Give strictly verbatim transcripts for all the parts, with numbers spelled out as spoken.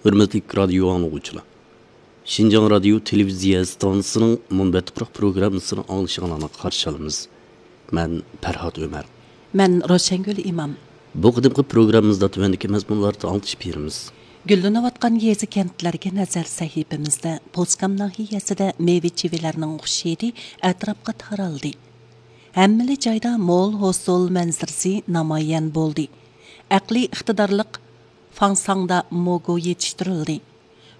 ھۆرمەتلىك رادىيو ئاڭلىغۇچىلار! شىنجاڭ رادىيو تېلېۋىزىيە ئىستانسىسىنىڭ مۇنبەت تۇپراق پروگراممىسىنى ئاڭلىشىڭلارنى قارشى ئالىمىز. مەن پەرھات ئۆمەر. مەن روشەنگۈل ئىمام. بۇ قېتىمقى پروگراممىمىزدا تۆۋەندىكى مەزمۇنلاردا ئاڭلىتىش بېرىمىز. گۈللىنىۋاتقان يېزا-كەنتلەرگە نەزەر سەھىپىمىزدە پوسكام ناھىيەسىدە مېۋە-چىۋىلەرنىڭ خۇش ھىدى ئەتراپقا تارالدى. ھەممىلا جايدا مول ھوسۇل مەنزىرىسى نامايان بولدى. ئەقلىي ئىقتىدارلىق فاڭساڭدا موگۇ يېتىشتۈرۈلدى.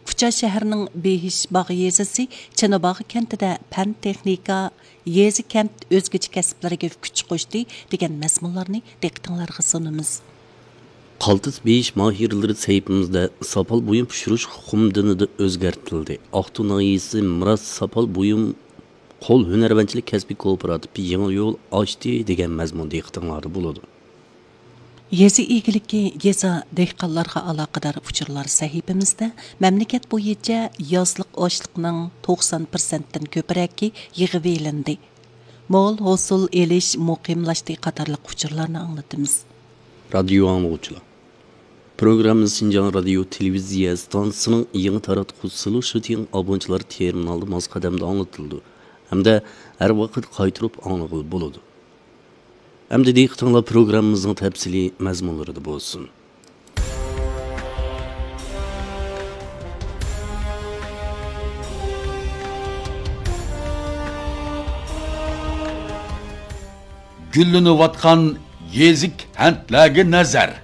كۇچا شەھىرىنىڭ بېھىش باغ يېزىسى چىناباغ كەنتىدە پەن-تېخنىكا، يېزا-كەنت ئۆزگىچە كەسىپلىرىگە كۈچ قوشتى دېگەن مەزمۇنلارنى دىققىتىڭلارغا سۇنىمىز. قالتىس بېھىش ماھىرلىرى سەھىپىمىزدە ساپال بۇيۇم پىشۇرۇش ئۇقۇم دىنىدا ئۆزگەرتىلدى. ئاقتۇ ناھىيەسى مىراس ساپال بۇيۇم قول ھۈنەرۋەنچىلىك كەسپىي كوپىراتىپى يېڭى يول ئاچتى دېگەن مەزمۇن دىققىتىڭلاردا بولىدۇ. يېزا ئىگىلىكى، يېزا، دېھقانلارغا ئالاقىدار ئۇچۇرلار سەھىپىمىزدە مەملىكەت بويىچە يازلىق ئاشلىقنىڭ توقسان پىرسەنتتىن كۆپرەكى يىغىۋېلىندى، مول ھوسۇل ئېلىش مۇقىملاشتى قاتارلىق ئۇچۇرلارنى ئاڭلىتىمىز. رادىيو ئاڭلىغۇچىلار! پروگراممىمىز شىنجاڭ رادىيو تېلېۋىزىيە ئىستانسىسىنىڭ يېڭى تاراتقۇ سىلۇ شىتىڭ ئابونچىلار تېرمىنالىدا ماس قەدەمدە ئاڭلىتىلىدۇ ھەمدە ھەر ۋاقىت قايتۇرۇپ ئاڭلىغىلى بولىدۇ. ئەمدى دىققىتىڭلار پروگراممىمىزنىڭ تەپسىلىي مەزمۇنلىرىدا بولسۇن. گۈللىنىۋاتقان يېزا-كەنتلەرگە نەزەر.